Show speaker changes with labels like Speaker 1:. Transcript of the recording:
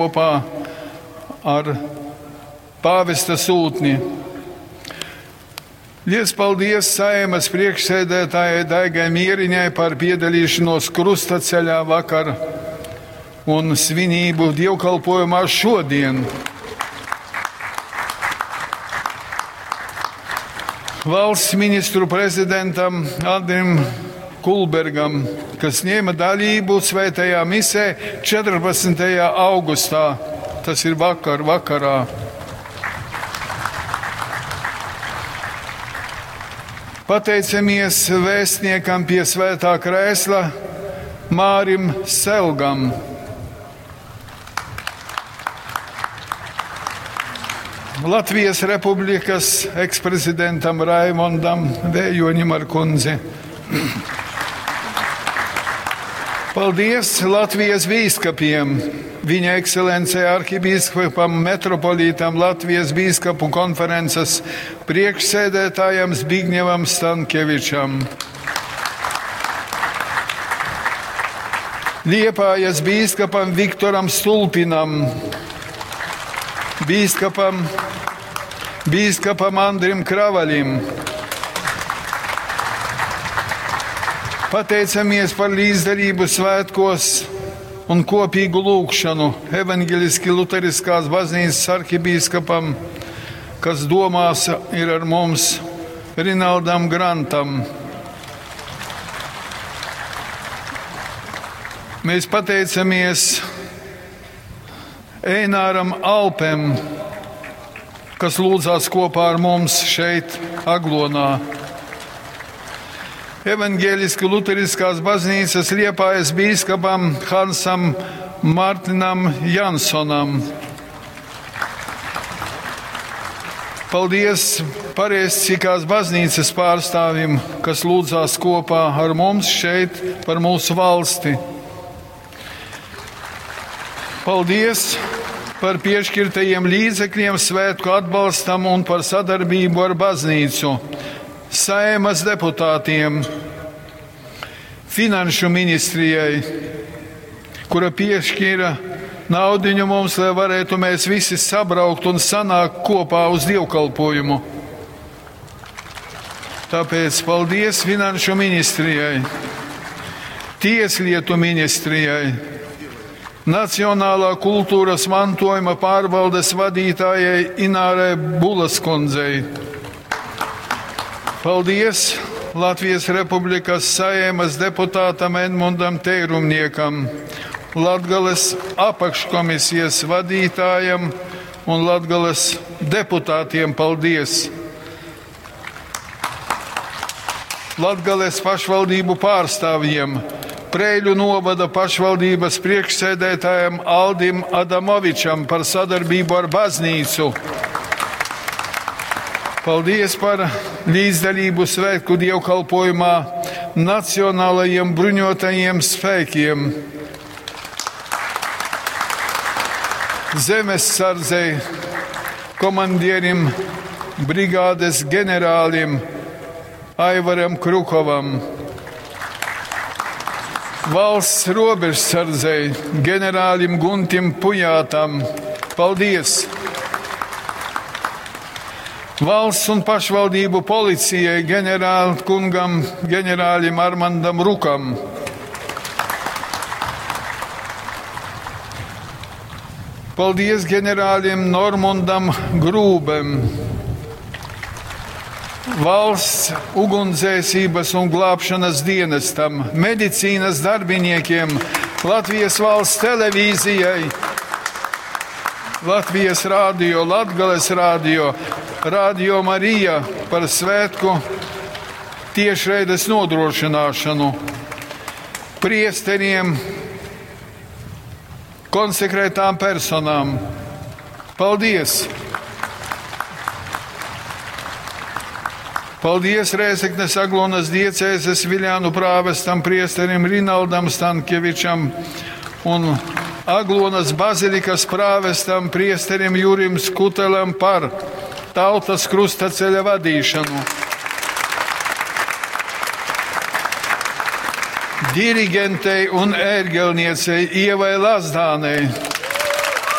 Speaker 1: Kopā ar pāvesta sūtni. Liels paldies Saeimas priekšsēdētājai Daigai Mieriņai par piedalīšanos krustaceļā vakar un svinību dievkalpojumā šodien. Valsts ministru prezidentam Andrim Kulbergam, kas ņēma dalību svētajā misē 14. augustā, tas ir vakar vakarā. Pateicamies vēstniekam pie svētā krēsla Mārim Selgam. Latvijas Republikas eksprezidentam Raimondam Vējoņam ar kundzi. Paldies Latvijas bīskapiem, viņa ekscelencei arhibīskapam metropolītam Latvijas bīskapu konferences priekšsēdētājam Zbigņevam Stankevičam. Liepājas bīskapam Viktoram Stulpinam, bīskapam, bīskapam Andrim Kravaļim. Pateicamies par līdzdalību svētkos un kopīgu lūgšanu Evangeliski Luteriskās baznīcas arhibīskapam, kas domās ir ar mums, Rinaldam Grantam. Mēs pateicamies Eināram Alpem, kas lūdzās kopā ar mums šeit, Aglonā. Evangeliski Luteriskās baznīcas Liepājas bīskapam Hansam Martinam Jansonam. Paldies pareizticīgās baznīcas pārstāvim, kas lūdzās kopā ar mums šeit par mūsu valsti. Paldies par piešķirtajiem līdzekļiem svētku atbalstam un par sadarbību ar baznīcu, Saeimas deputātiem, Finanšu ministrijai, kura piešķīra naudiņu mums, lai varētu mēs visi sabraukt un sanākt kopā uz dievkalpojumu. Tāpēc paldies Finanšu ministrijai, Tieslietu ministrijai, Nacionālā kultūras mantojuma pārvaldes vadītājai Inārai Bulaskundzei. Paldies Latvijas Republikas Saeimas deputātam Edmundam Teirumniekam, Latgales apakškomisijas vadītājam un Latgales deputātiem paldies! Latgales pašvaldību pārstāvjiem, Preiļu novada pašvaldības priekšsēdētājam Aldim Adamovičam par sadarbību ar baznīcu. Paldies par līdzdalību svētku dievkalpojumā Nacionālajiem bruņotajiem spēkiem, Zemessardzei, komandierim, brigādes generālim Aivaram Krukovam, Valsts robežsardzei, generālim Guntim Pujātam. Paldies! Valsts un pašvaldību policijai ģenerālkungam, ģenerālim Armandam Rukam. Paldies ģenerālim Normundam Grūbem. Valsts ugunsdzēsības un glābšanas dienestam, medicīnas darbiniekiem, Latvijas valsts televīzijai, Latvijas rādio, Latgales rādio, Rādio Marija par svētku tiešraides nodrošināšanu, priesteriem, konsekrētām personām. Paldies! Paldies Rēzeknes Aglonas diecēzes Viļānu prāvestam priesterim Rinaldam Stankievičam un Aglonas bazilikas prāvestam priesterim Jurim Skutelam par tautas krustaceļa vadīšanu. Dirigentei un ērgelniecei Ievai Lazdānei.